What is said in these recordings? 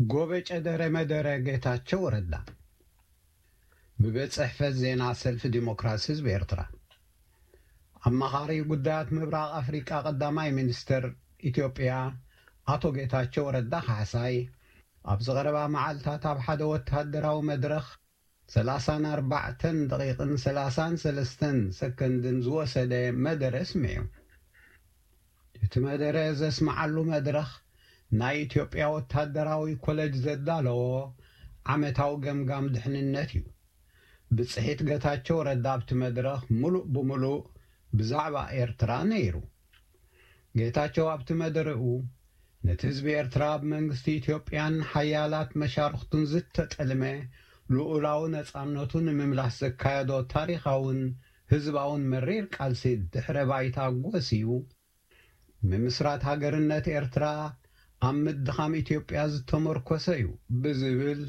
ጎበጨ ደረ መደረ ጌታቸው ረዳ። ብቤት ጽሕፈት ዜና ሰልፊ ዲሞክራሲ ህዝቢ ኤርትራ። ኣማኻሪ ጉዳያት ምብራቕ ኣፍሪቃ ቀዳማይ ሚኒስተር ኢትዮጵያ ኣቶ ጌታቸው ረዳ ካሕሳይ፣ ኣብዚ ቀረባ መዓልታት ኣብ ሓደ ወተሃደራዊ መድረኽ ሰላሳን ኣርባዕተን ደቂቕን ሰላሳን ሰለስተን ሰከንድን ዝወሰደ መደረ ኣስሚዑ። እቲ መደረ ዘስምዓሉ መድረኽ ናይ ኢትዮጵያ ወታደራዊ ኮለጅ ዘዳለዎ ዓመታዊ ገምጋም ድሕንነት እዩ። ብጽሒት ጌታቸው ረዳ ኣብቲ መድረኽ ምሉእ ብምሉእ ብዛዕባ ኤርትራ ነይሩ። ጌታቸው ኣብቲ መደረኡ፣ ነቲ ህዝቢ ኤርትራ ኣብ መንግስቲ ኢትዮጵያን ሓያላት መሻርኽቱን ዝተጠልመ ልኡላዊ ነጻነቱ ንምምላስ ዘካየዶ ታሪኻውን ህዝባውን መሪር ቃልሲ ድሕረ ባይታ ጎስዩ፣ ምምስራት ሃገርነት ኤርትራ ኣብ ምድኻም ኢትዮጵያ ዝተመርኮሰ እዩ ብዝብል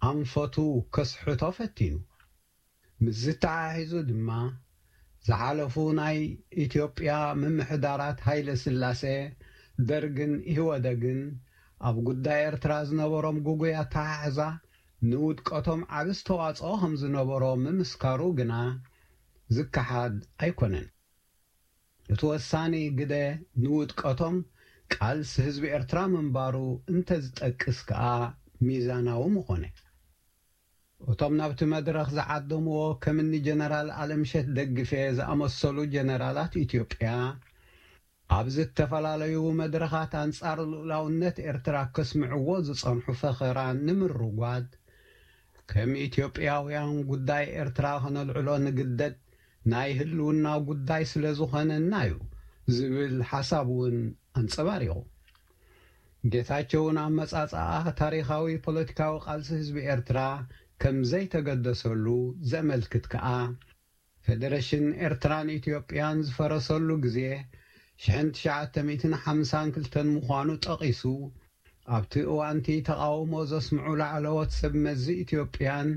ኣንፈቱ ከስሕቶ ፈቲኑ። ምስ ዝተሓሒዙ ድማ፣ ዝሓለፉ ናይ ኢትዮጵያ ምምሕዳራት ሃይለ ስላሴ፣ ደርግን ኢህወደግን ኣብ ጉዳይ ኤርትራ ዝነበሮም ግጉይ ኣተሓሕዛ ንውድቀቶም ዓቢ ኣስተዋጽኦ ከም ዝነበሮ ምምስካሩ ግና ዝከሓድ ኣይኮነን። እቲ ወሳኒ ግደ ንውድቀቶም ቃልሲ ህዝቢ ኤርትራ ምንባሩ እንተዝጠቅስ ከኣ ሚዛናዊ ምኾነ። እቶም ናብቲ መድረኽ ዝዓደምዎ ከምኒ ጀነራል ኣለምሸት ደግፌ ዝኣመሰሉ ጀነራላት ኢትዮጵያ፣ ኣብ ዝተፈላለዩ መድረኻት ኣንጻር ልኡላውነት ኤርትራ ከስምዕዎ ዝጸንሑ ፈኸራ ንምርጓድ፣ ከም ኢትዮጵያውያን ጉዳይ ኤርትራ ከነልዕሎ ንግደድ ናይ ህልውና ጉዳይ ስለ ዝኾነና እዩ ዝብል ሓሳብ እውን ኣንጸባሪቑ። ጌታቸውን ኣመጻጽኣ ታሪኻዊ ፖለቲካዊ ቃልሲ ህዝቢ ኤርትራ ከም ዘይተገደሰሉ ዘመልክት ከኣ፣ ፌደሬሽን ኤርትራን ኢትዮጵያን ዝፈረሰሉ ግዜ ሽሕን ትሽዓተ ሚእትን ሓምሳን ክልተን ምዃኑ ጠቒሱ፣ ኣብቲ እዋንቲ ተቓውሞ ዘስምዑ ላዕለዎት ሰብ መዚ ኢትዮጵያን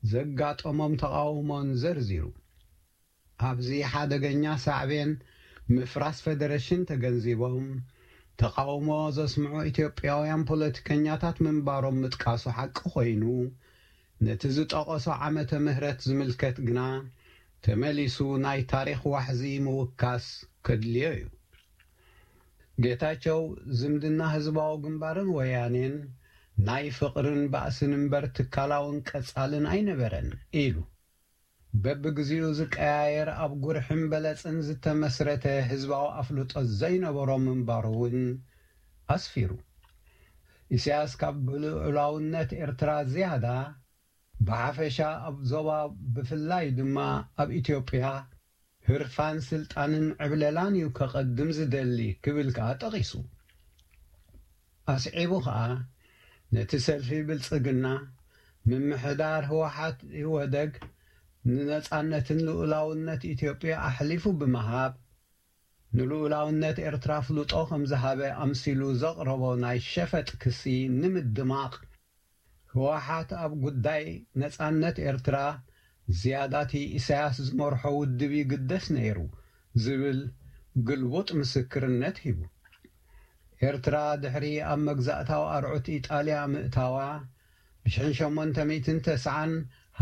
ዘጋጠሞም ተቓውሞን ዘርዚሩ። ኣብዚ ሓደገኛ ሳዕቤን ምፍራስ ፌደሬሽን ተገንዚቦም ተቓውሞ ዘስምዑ ኢትዮጵያውያን ፖለቲከኛታት ምንባሮም ምጥቃሱ ሓቂ ኮይኑ፣ ነቲ ዝጠቐሶ ዓመተ ምህረት ዝምልከት ግና ተመሊሱ ናይ ታሪኽ ዋሕዚ ምውካስ ከድልዮ እዩ። ጌታቸው፣ ዝምድና ህዝባዊ ግንባርን ወያኔን ናይ ፍቕርን ባእስን እምበር ትካላውን ቀጻልን ኣይነበረን ኢሉ። በብግዜኡ ዝቀያየር ኣብ ጉርሕን በለጽን ዝተመስረተ ህዝባዊ ኣፍልጦ ዘይነበሮ ምንባሩ እውን ኣስፊሩ። ኢሳያስ ካብ ብልዑላውነት ኤርትራ ዝያዳ ብሓፈሻ ኣብ ዞባ ብፍላይ ድማ ኣብ ኢትዮጵያ ህርፋን ስልጣንን ዕብለላን እዩ ከቐድም ዝደሊ ክብል ከኣ ጠቒሱ። ኣስዒቡ ከኣ ነቲ ሰልፊ ብልጽግና ምምሕዳር ህወሓት ኢህወደግ ንነጻነትን ልኡላውነት ኢትዮጵያ ኣሕሊፉ ብምሃብ ንልኡላውነት ኤርትራ ኣፍልጦ ከም ዝሃበ ኣምሲሉ ዘቕረቦ ናይ ሸፈጥ ክሲ ንምድማቕ ህወሓት ኣብ ጉዳይ ነጻነት ኤርትራ ዝያዳ እቲ ኢሳያስ ዝመርሖ ውድብ ይግደስ ነይሩ ዝብል ግልቡጥ ምስክርነት ሂቡ። ኤርትራ ድሕሪ ኣብ መግዛእታዊ ኣርዑት ኢጣልያ ምእታዋ ብሽሕን ሸሞንተ ሚእትን ተስዓን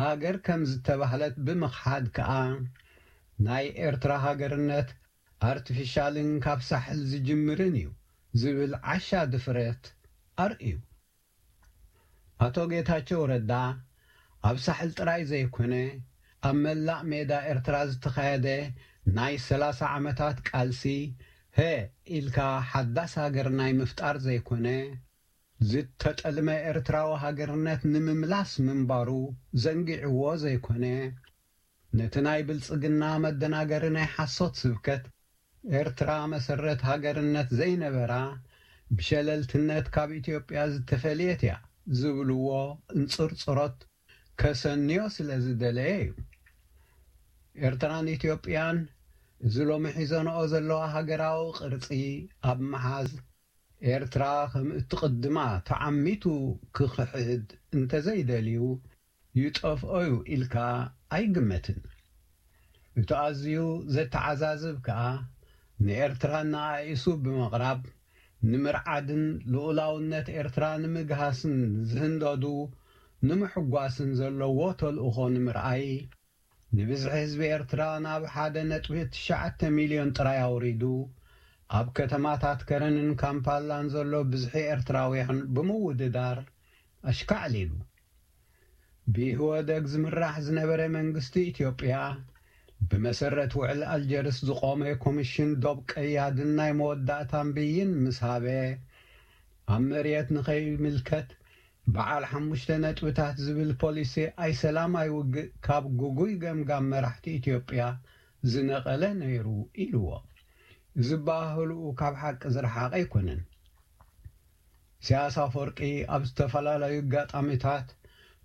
ሃገር ከም ዝተባህለት ብምኽሓድ ከኣ ናይ ኤርትራ ሃገርነት ኣርቲፊሻልን ካብ ሳሕል ዝጅምርን እዩ ዝብል ዓሻ ድፍረት ኣርእዩ። ኣቶ ጌታቸው ረዳ ኣብ ሳሕል ጥራይ ዘይኮነ ኣብ መላእ ሜዳ ኤርትራ ዝተኻየደ ናይ ሰላሳ ዓመታት ቃልሲ ሀ ኢልካ ሓዳስ ሃገር ናይ ምፍጣር ዘይኮነ ዝተጠልመ ኤርትራዊ ሃገርነት ንምምላስ ምንባሩ ዘንጊዕዎ ዘይኮነ ነቲ ናይ ብልጽግና መደናገሪ ናይ ሓሶት ስብከት ኤርትራ መሰረት ሃገርነት ዘይነበራ ብሸለልትነት ካብ ኢትዮጵያ ዝተፈልየት እያ ዝብልዎ እንጽርጽሮት ከሰንዮ ስለ ዝደለየ እዩ። ኤርትራን ኢትዮጵያን እዚ ሎሚ ሒዘንኦ ዘለዋ ሃገራዊ ቅርጺ ኣብ ምሓዝ ኤርትራ ከም እትቕድማ ተዓሚቱ ክኽሕድ እንተዘይደልዩ ይጠፍኦ እዩ ኢልካ ኣይግመትን። እቲ ኣዝዩ ዘተዓዛዝብ ከኣ ንኤርትራ እናኣኢሱ ብምቕራብ ንምርዓድን ልኡላውነት ኤርትራ ንምግሃስን ዝህንደዱ ንምሕጓስን ዘለዎ ተልእኾ ንምርኣይ፣ ንብዝሒ ህዝቢ ኤርትራ ናብ ሓደ ነጥቢ ትሽዓተ ሚልዮን ጥራይ ኣውሪዱ፣ ኣብ ከተማታት ከረንን ካምፓላን ዘሎ ብዝሒ ኤርትራውያን ብምውድዳር ኣሽካዕሊሉ። ብኢህወደግ ዝምራሕ ዝነበረ መንግስቲ ኢትዮጵያ፣ ብመሰረት ውዕል ኣልጀርስ ዝቖመ ኮሚሽን ዶብ ቀያድን ናይ መወዳእታን ብይን ምስ ሃበ፣ ኣብ መሬት ንኸይምልከት በዓል ሓሙሽተ ነጥብታት ዝብል ፖሊሲ ኣይሰላም ኣይውግእ ካብ ግጉይ ገምጋም መራሕቲ ኢትዮጵያ ዝነቐለ ነይሩ ኢልዎ። እዚ ኣበሃህልኡ ካብ ሓቂ ዝረሓቐ ኣይኮነን። ኢሳያስ ኣፈወርቂ ኣብ ዝተፈላለዩ ኣጋጣሚታት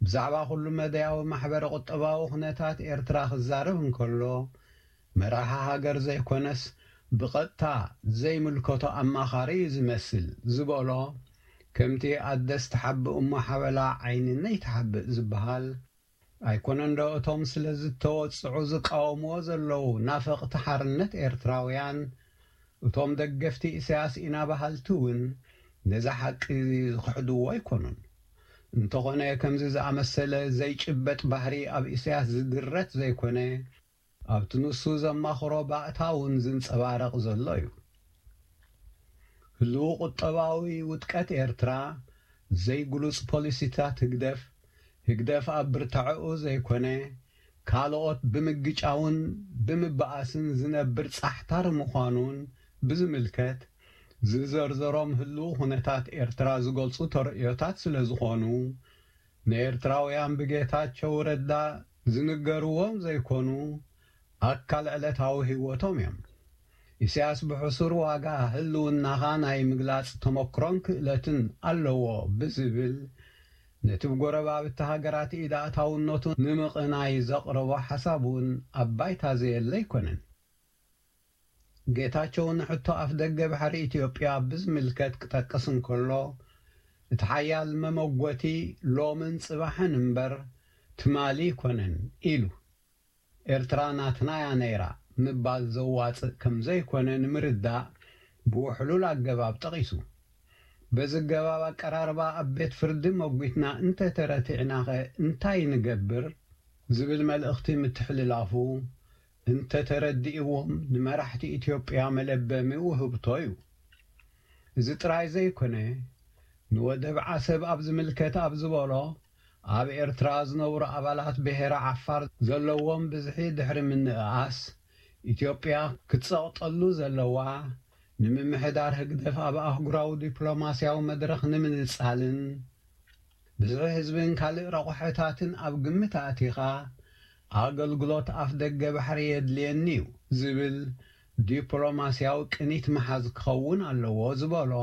ብዛዕባ ኩሉ መዳያዊ ማሕበረ ቁጠባዊ ኩነታት ኤርትራ ክዛረብ እንከሎ፣ መራሒ ሃገር ዘይኮነስ ብቐጥታ ዘይምልከቶ ኣማኻሪ እዩ ዝመስል ዝበሎ፣ ከምቲ ኣደስ ትሓብእ እሞ ሓበላ ዓይኒ ነይትሓብእ ዝበሃል፣ ኣይኮነን ዶ እቶም ስለ ዝተወጽዑ ዝቃወምዎ ዘለዉ ናፈቕቲ ሓርነት ኤርትራውያን፣ እቶም ደገፍቲ ኢሳያስ ኢና በሃልቲ እውን ነዚ ሓቂ ዝኽሕድዎ ኣይኮኑን። እንተኾነ ከምዚ ዝኣመሰለ ዘይጭበጥ ባህሪ ኣብ ኢሳያስ ዝድረት ዘይኮነ፣ ኣብቲ ንሱ ዘማኽሮ ባእታ እውን ዝንጸባረቕ ዘሎ እዩ። ህልው ቁጠባዊ ውድቀት ኤርትራ፣ ዘይግሉጽ ፖሊሲታት ህግደፍ፣ ህግደፍ ኣብ ብርታዐኡ ዘይኮነ፣ ካልኦት ብምግጫውን ብምበኣስን ዝነብር ጻሕታር ምዃኑን ብዝምልከት፣ ዝዘርዘሮም ህልው ኩነታት ኤርትራ ዝገልጹ ተርእዮታት ስለ ዝኾኑ፣ ንኤርትራውያን ብጌታቸው ረዳ ዝንገርዎም ዘይኮኑ፣ ኣካል ዕለታዊ ህይወቶም እዮም። ኢሳያስ ብሕሱር ዋጋ ህልውናኻ ናይ ምግላጽ ተመክሮን ክእለትን ኣለዎ ብዝብል፣ ነቲ ብጎረባብቲ ሃገራት ኢድ ኣእታውነቱ ንምቕናይ ዘቕረቦ ሓሳብ እውን ኣብ ባይታ ዘየለ ኣይኮነን። ጌታቸው ንሕቶ ኣፍደገ ባሕሪ ኢትዮጵያ ብዝምልከት ክጠቅስ እንከሎ፣ እቲ ሓያል መመጎቲ ሎምን ጽባሕን እምበር ትማሊ ኣይኮነን ኢሉ። ኤርትራ ናትና እያ ነይራ ምባል ዘዋጽእ ከም ዘይኮነ ንምርዳእ ብውሕሉል ኣገባብ ጠቒሱ። በዚ ኣገባብ ኣቀራርባ ኣብ ቤት ፍርዲ መጒትና እንተተረቲዕናኸ እንታይ ንገብር? ዝብል መልእኽቲ ምትሕልላፉ፣ እንተተረዲእዎም ንመራሕቲ ኢትዮጵያ መለበሚ ውህብቶ እዩ። እዚ ጥራይ ዘይኮነ፣ ንወደብ ዓሰብ ኣብ ዝምልከት ኣብ ዝበሎ፣ ኣብ ኤርትራ ዝነብሩ ኣባላት ብሄረ ዓፋር ዘለዎም ብዝሒ ድሕሪ ምንእኣስ፣ ኢትዮጵያ ክትጸቕጠሉ ዘለዋ፣ ንምምሕዳር ህግደፍ ኣብ ኣህጉራዊ ዲፕሎማስያዊ መድረኽ ንምንጻልን፣ ብዝሒ ህዝብን ካልእ ረቑሐታትን ኣብ ግምት ኣእቲኻ፣ ኣገልግሎት ኣፍ ደገ ባሕሪ የድልየኒ እዩ ዝብል ዲፕሎማስያዊ ቅኒት ምሓዝ ክኸውን ኣለዎ ዝበሎ፣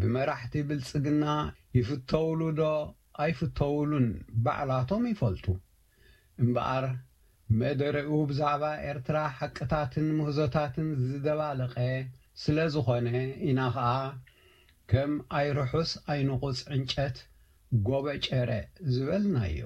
ብመራሕቲ ብልጽግና ይፍተውሉ ዶ ኣይፍተውሉን ባዕላቶም ይፈልጡ። እምበኣር፣ መደረኡ ብዛዕባ ኤርትራ ሓቅታትን ምህዞታትን ዝደባለቐ ስለ ዝኾነ ኢና ኸኣ፣ ከም ኣይርሑስ ኣይንቑጽ ዕንጨት ጎበጨረ ዝበልናዮ።